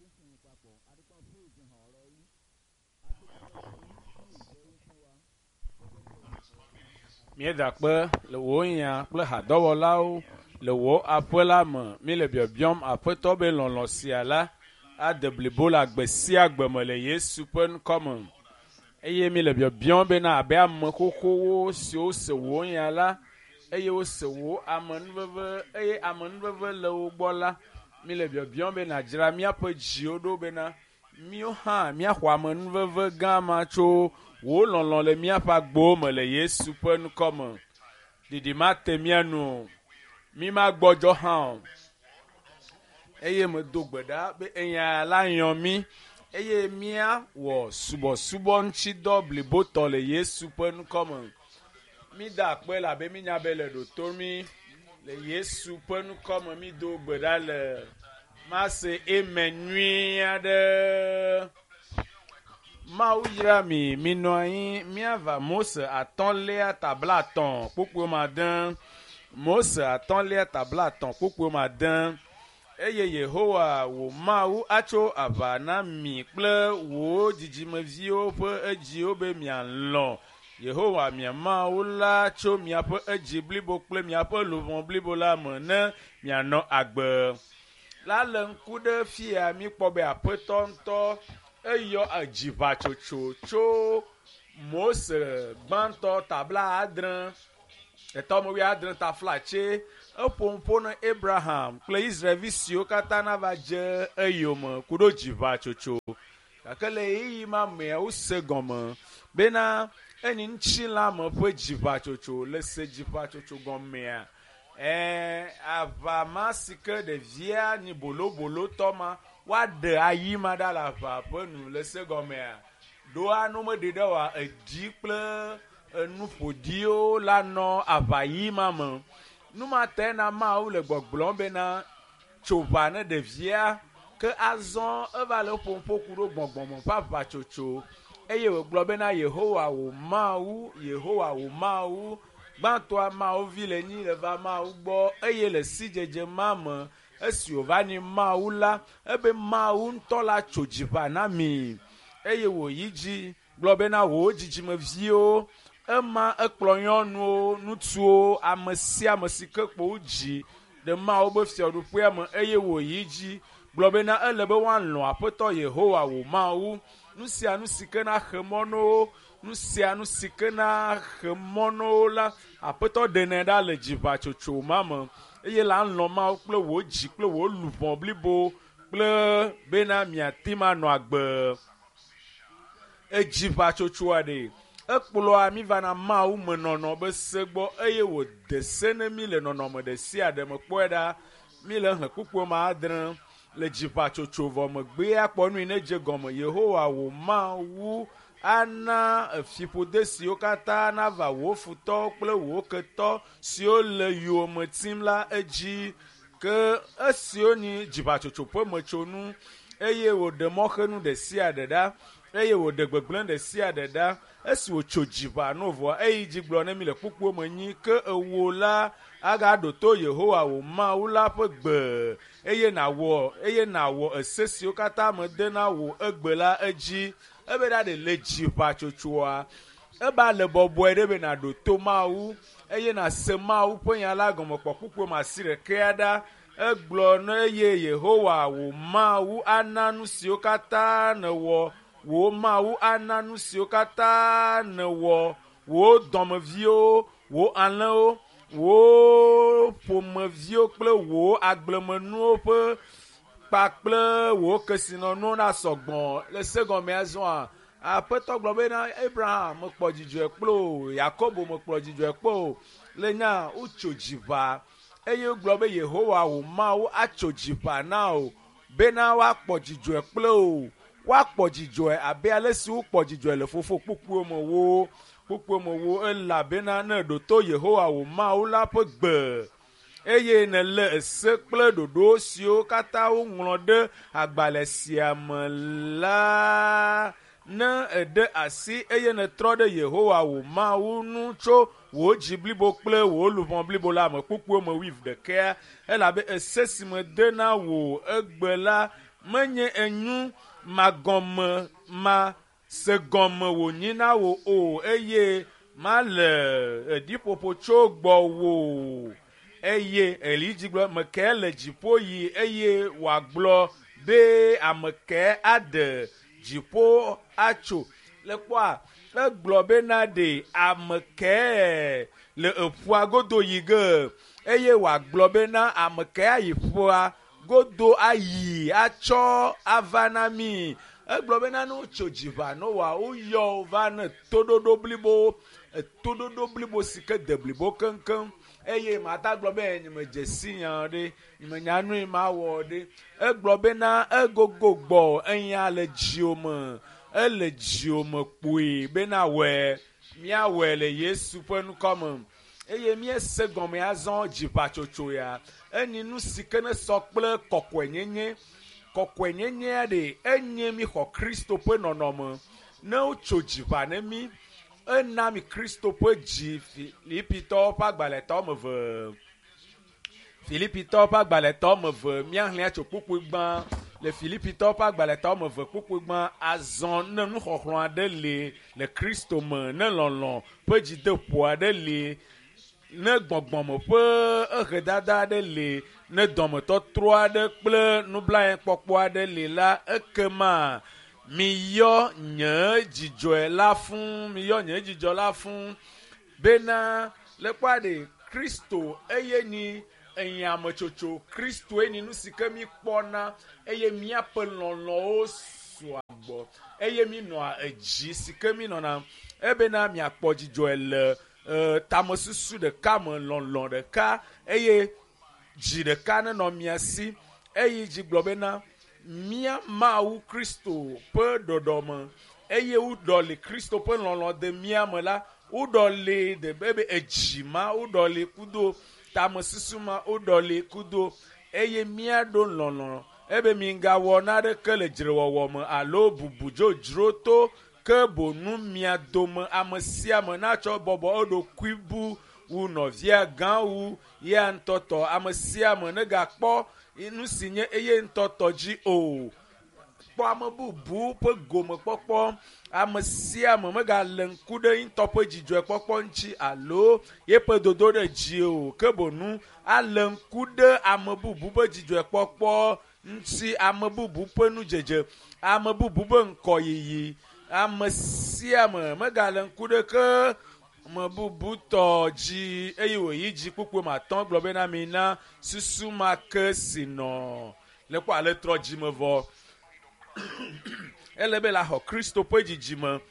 sísìn yín papọ̀. A dúpẹ́ fún ìfihàn ọ̀rọ̀ yín. A dúpẹ́ lọ́wọ́ yín fún ìfẹ́ yín fún wa. Míeda kpe le wò nya kple hadɔwɔlawo le wò aƒe la me. Míele biɔbiɔm Aƒetɔ be lɔlɔ̃ sia la ade blibo le agbe sia agbe me le Yesu ƒe ŋkɔ me. Eye míele biɔbiɔm bena abe ame xoxowo siwo se wò nya la eye wose wò amenuveve eye amenuveve le wo gbɔ la, míele biɔbiɔm be nàdzra míaƒe dziwo ɖo bena míwo hã míaxɔ amenuveve gã ma tso wò lɔlɔ̃ le míaƒe agbowo me le Yesu ƒe ŋkɔ me. Ɖiɖi mate mía nu o. Mí magbɔdzɔ hã o. Eye medo gbe ɖa be enya la yɔ mí eye míawɔ subɔsubɔ ŋutidɔ blibotɔ le Yesu ƒe ŋkɔ me. Mída akpe elabe mínya be le ɖo to mí le Yesu ƒe ŋkɔ me. Mído gbe ɖa le mase eme nyui aɖe. Mawu yra mi, minɔ anyi míava Mose atɔ̃lia tabla etɔ̃ kpukpui ma de. Mose atɔ̃lia tabla etɔ̃ kpukpui ma de. Eye Yehowa wò Mawu atso aʋa na mi kple wò dzidzimeviwo ƒe edziwo be mialɔ̃ Yehowa mia Mawu la tso miaƒe edzi blibo kple miaƒe luʋɔ blibo la me ne mianɔ agbe. La le ŋku ɖe fia míkpɔ be Aƒetɔ ŋutɔ eyɔ edziʋatsotso tso Mose gbãtɔ tabla adre etɔ me wuiadre taflatse eƒo nuƒo na Abraham kple Israelvi siwo katã nava dze eyome ku ɖo dziʋatsotso. Gake le ɣeyiɣi ma mea wose gɔme bena enyi ŋutilãme ƒe dziʋatsotso le se dziʋatsotso gɔmea. Ɛɛ aʋa ma si ke ɖevia nyi bolobolotɔ ma woaɖe ayi ma ɖa le aʋa ƒe nu le se gɔmea. Ɖoa ne womeɖe ɖe oa edzi kple enu ƒoɖiwo la nɔ aʋa ɣi ma me. Nu ma tae na Mawu le gbɔgblɔm bena tso ʋa ne ɖevia ke azɔ eva le ƒom ƒo ku ɖo gbɔgbɔme ƒe aʋatsotso eye wògblɔ bena Yehowa wò Mawu, Yehowa wò Mawu, gbãtɔa Mawu vi le nyi le va Mawu gbɔ eye le sidzedze ma me esi wòva nyi Mawu la ebe Mawu ŋutɔ la tso dziʋa na mi eye wòyi dzi gblɔ bena wò dzidzimeviwo ema ekplɔ nyɔnuwo, ŋutsuwo, ame sia ame si ke kpo wodzi ɖe Mawu be fiaɖuƒea me eye wòyi dzi gblɔ bena ele be woalɔ̃ Aƒetɔ Yehowa wò Mawu. Nu sia nu si ke na xe mɔ na wo, nu sia nu si ke na xe mɔ na wo la, Aƒetɔ ɖenɛ ɖa le dziʋatsotso ma me eye la lɔ̃ Mawu kple wò dzi kple wò luʋɔ blibo kple bena miate ŋu anɔ agbe. Edziʋatsotsoa ɖe ekplɔa mi vana Mawu me nɔnɔ be se gbɔ eye wòde se ne mi le nɔnɔme ɖe sia ɖe me kpɔe ɖa. Mi le xlẽ kpukpui ma adre le dziʋatsotso vɔ megbea kpɔ nui ne dze gɔme. Yehowa wò Mawu ana fiƒode siwo katã nava wò futɔwo kple wò ketɔ siwo le yowòme tim la edzi. Ke esiwo nyi dziʋatsotso ƒe metsonu eye wòɖe mɔxenu ɖe sia ɖe ɖa eye wòɖe gbegblẽ ɖe sia ɖe ɖa. Esi wòtso dziʋa no vɔa eyi dzi gblɔ ne mi le kpukpuo me nyi ke ewo la agaɖo to Yehowa wò Mawu la ƒe gbe eye nàwɔ eye nàwɔ ese siwo katã mede na wò egbe la edzi. Ebe ɖa ɖe le dziʋatsotsoa eba le bɔbɔe ɖe be nàɖo to Mawu eye nàse Mawu ƒe nya la gɔme kpɔ kpukpui ma asi ɖekea ɖa. Egblɔ ne eye Yehowa wò Mawu ana nu siwo katã nèwɔ wò Mawu ana nu siwo katã nèwɔ wò dɔmeviwo, wò alẽwo, wò ƒomeviwo kple wò agblemenuwo ƒe kpakple wò kesinɔnuwo nasɔ gbɔ. Le se gɔmea zɔa, Aƒetɔ gblɔ bena Abraham mekpɔ dzidzɔe kple o, Yakobo mekplɔ dzidzɔe kpɔ o. Le nya wotso dziʋa eye wogblɔ be Yehowa wò Mawu atso dziʋa na wò bena woakpɔ dzidzɔe kple wò. Woakpɔ dzidzɔe abe ale si wokpɔ dzidzɔe le fofo kpukpuiwo me wo kpukpuiwo me wo elabena ne èɖo to Yehowa wò Mawu la ƒe gbe eye nèlé ese kple ɖoɖo siwo katã woŋlɔ ɖe agbalẽ sia me la, ne èɖe asi eye nètrɔ ɖe Yehowa wò Mawu ŋu tso wò dzi blibo kple wò luʋɔ blibo la me kpukpuiwo me wuieve ɖekea elabe ese si mede na wò egbe la Menye enyu magɔme ma se gɔme wònyi na wò o eye male eɖiƒoƒo tso gbɔwò o. Eye Elidzi gblɔ meke le dziƒo yi eye wòagblɔ be ame ke aɖe dziƒo atso. Le kpɔa egblɔ bena ɖe ame ke le eƒua godo yi ge eye wòagblɔ bena ame ke ayi ƒua godo ayi atsɔ ava na mi. Egblɔ bena ne wotso dziʋa Noa woyɔ va ne toɖoɖo blibo toɖoɖo blibo si ke de blibo keŋkeŋ eye mata gblɔ be nyemedze si nya ɖe nyemenya nui ma wɔ ɖe. Egblɔ bena egogo gbɔ enya le dziwò me ele dziwò me kpoe bena wɔe míawɔe le Yesu ƒe ŋkɔ me. Eye míese gɔme azɔ dziʋatsotso ya enyi nu si ke ne sɔ kple kɔkɔenyenye. Kɔkɔenyenyea ɖe enye míxɔ Kristo ƒe nɔnɔme. Ne wotso dziʋa ne mí ena mi Kristo ƒe dzi Filipitɔwo ƒe agbalẽtɔ wɔme eve. Filipitɔwo ƒe agbalẽtɔ wɔme eve míaxlẽ tso kpukpui gbã le Filipitɔwo ƒe agbalẽtɔ wɔme eve kpukpui gbã azɔ ne nuxɔxlɔ̃ aɖe li le Kristo me ne lɔlɔ̃ ƒe dzideƒo aɖe li ne gbɔgbɔme ƒe ehedada aɖe li ne dɔmetɔtrɔ aɖe kple nublanuikpɔkpɔ aɖe li la ekema miyɔ nye dzidzɔe la fũ miyɔ nye dzidzɔ la fũ bena le kpɔa ɖe Kristo eye nyi enyametsotso Kristoe nyi nu si ke mi kpɔna eye míaƒe lɔlɔ̃wo sɔa gbɔ eye mi nɔa edzi si ke mi nɔna ebena miakpɔ dzidzɔe le tamesusu ɖeka me lɔlɔ̃ ɖeka eye dzi ɖeka nenɔ mia si eye dzi gblɔ bena mía Mawu Kristo ƒe ɖɔɖɔme eye woɖɔli Kristo ƒe lɔlɔ̃ de mía me la woɖɔli de be edzi ma woɖɔli kudo tamesusu ma woɖɔli kudo eye míaɖo lɔlɔ̃ ebe migawɔ naɖeke le dzrewɔwɔ me alo bubu dzodzro to ke bonu mia dome ame sia ame natsɔ bɔbɔ eɖokui bu wu nɔvia gã wu ya ŋutɔ tɔ ame sia ame negakpɔ nu si nye eye ŋutɔ tɔ dzi o. Kpɔ ame bubu ƒe gomekpɔkpɔ ame sia ame megale ŋku ɖe ŋutɔ ƒe dzidzɔkpɔkpɔ ŋuti alo yeƒe dodo ɖe dzi o ke bonu ale ŋku ɖe ame bubu ƒe dzidzɔkpɔkpɔ ŋuti ame bubu ƒe nudzedze ame bubu ƒe ŋkɔyiyi ame sia ame megale ŋku ɖe ke ame bubu tɔ dzi eye wòyi dzi kpukpui ma atɔ̃ gblɔ bena mina susu ma ke si nɔ le kpɔ ale trɔ dzime vɔ ele be la xɔ Kristo ƒe dzidzime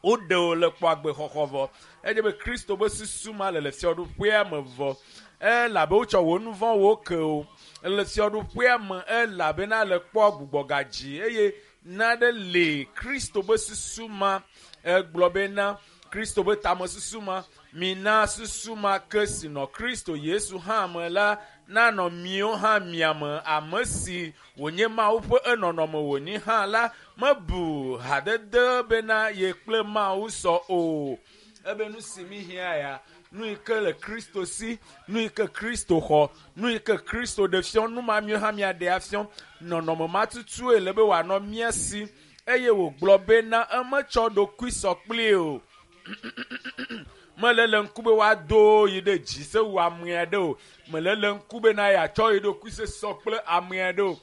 woɖe wo le kpɔ agbexɔxɔ vɔ edze be Kristo ƒe susu ma le le fiaɖuƒea me vɔ elabe wotsɔ wo nu vɔ̃wo ke o le fiaɖuƒea me elabena le kpɔ gbugbɔgadzi eye naɖe le Kristo ƒe susu ma egblɔ bena Kristo ƒe tamesusu ma mina susu ma ke si nɔ Kristo Yesu hã me la nanɔ miwo hã mia me ame si wònye Mawu ƒe enɔnɔme wònyi hã la mebu hadede bena ye kple Mawu sɔ o. Ebe nu si mi hiã ya nu yi ke le Kristo si nu yi ke Kristo xɔ nu yi ke Kristo ɖe fiɔ nu ma miwo hã miaɖe afiɔ nɔnɔme ma tutue le be wòanɔ mía si eye wògblɔ bena emetsɔ ɖokui sɔ kpli o. Mele le ŋku be woado yi ɖe dzi se wu ame aɖe o. Mele le ŋku bena yeatsɔ yi ɖokui se sɔ kple ame aɖe o.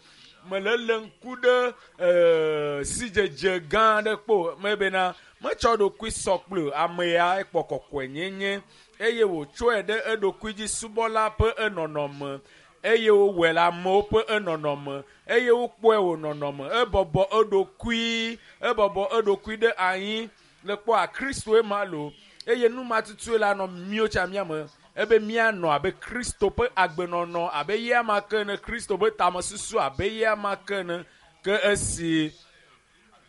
Mele le ŋku ɖe sidzedze gã aɖe kpo mebena metsɔ ɖokui sɔ kple ame ya ekpɔ kɔkɔenyenye eye wòtsɔe ɖe eɖokui dzi subɔla ƒe enɔnɔme eye wowɔe le amewo ƒe enɔnɔme eye wokpɔe wò nɔnɔme ebɔbɔ eɖokui ɖe anyi le kpɔa Kristoe ma lo eye nu ma tutue la nɔ míwo tsa mía me ebe míanɔ abe Kristo ƒe agbenɔnɔ abe ya ma ke ene Kristo ƒe tamesusu abe ya ma ke ene ke esi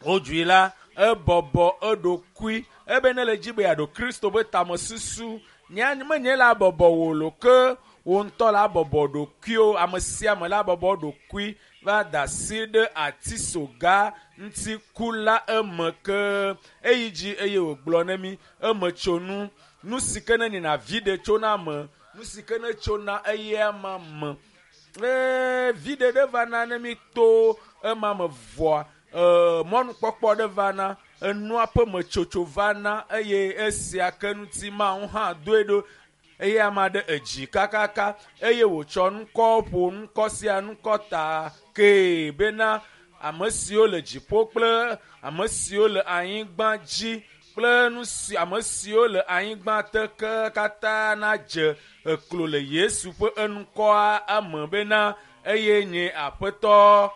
wodzui la ebɔbɔ eɖokui ebe ne le dzi be yeaɖo Kristo ƒe tamesusu menye la bɔbɔ wò lo ke wò ŋutɔ la bɔbɔ ɖokuiwo ame sia ame la bɔbɔ ɖokui va da asi ɖe atisoga ŋuti ku la eme ke eyi dzi eye wògblɔ ne mi eme tso nu nu si ke ne nyina vi ɖe tsona me nu si ke ne tsona eya ma me. Eye viɖe ɖe vana ne mi to ema me vɔa, mɔnukpɔkpɔ ɖe vana, enua ƒe metsotso vana eye esia ke ŋuti Mawu hã doe ɖo eye ame aɖe edzi kakaka eye wòtsɔ ŋkɔ ƒo ŋkɔ sia ŋkɔ ta kee bena ame siwo le dziƒo kple ame siwo le anyigba dzi kple nu si ame siwo le anyigba te ke katã nadze eklo le Yesu ƒe eŋkɔa eme bena eye nye Aƒetɔ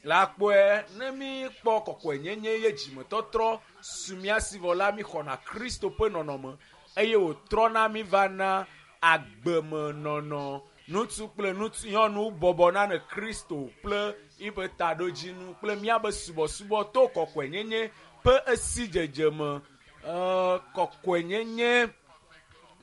la kpɔe. Ne mi kpɔ kɔkɔenyenye ye dzimetɔtrɔ su mía si vɔ la, mi xɔna Kristo ƒe nɔnɔme eye wòtrɔna mi vana agbemenɔnɔ. Ŋutsu kple ŋutsu nyɔnu bɔbɔna ne Kristo kple yiƒe taɖodzinu kple míabe subɔsubɔ to kɔkɔenyenye ƒe esidzedze me. Kɔkɔenyenye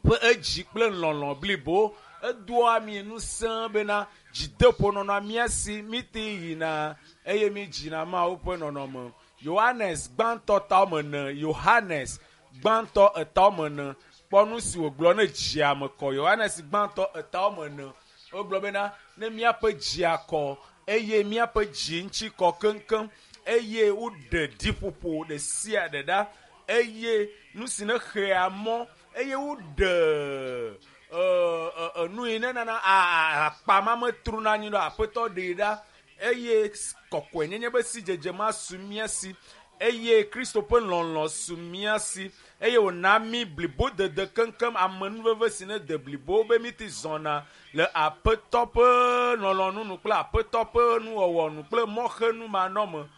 ƒe edzi kple lɔlɔ blibo edoa mi ŋusẽ bena dzideƒo nɔnɔa mía si, mi te yina eye mi dzina Mawu ƒe nɔnɔme. Yohanes gbãtɔ ta wɔme ene, Yohanes gbãtɔ eta wɔme ene, kpɔ nu si wògblɔ ne dzia me kɔ. Yohanes gbãtɔ eta wɔme ene, wogblɔ bena ne míaƒe dzia kɔ eye míaƒe dzi ŋuti kɔ keŋkeŋ eye woɖe ɖiƒoƒo ɖe sia ɖe ɖa eye nu si ne xea mɔ eye woɖe nu yi ne nana akpa ma metrona anyi ɖo Aƒetɔ ɖee ɖa eye kɔkɔenyenye be sidzedze ma su mía si eye Kristo ƒe lɔlɔ su mía si eye wòna mí blibodede keŋkeŋ amenuveve si ne de blibo be mi te zɔna le Aƒetɔ ƒe lɔlɔ̃nu nu kple Aƒetɔ ƒe nuwɔwɔ nu kple mɔxenu manɔme.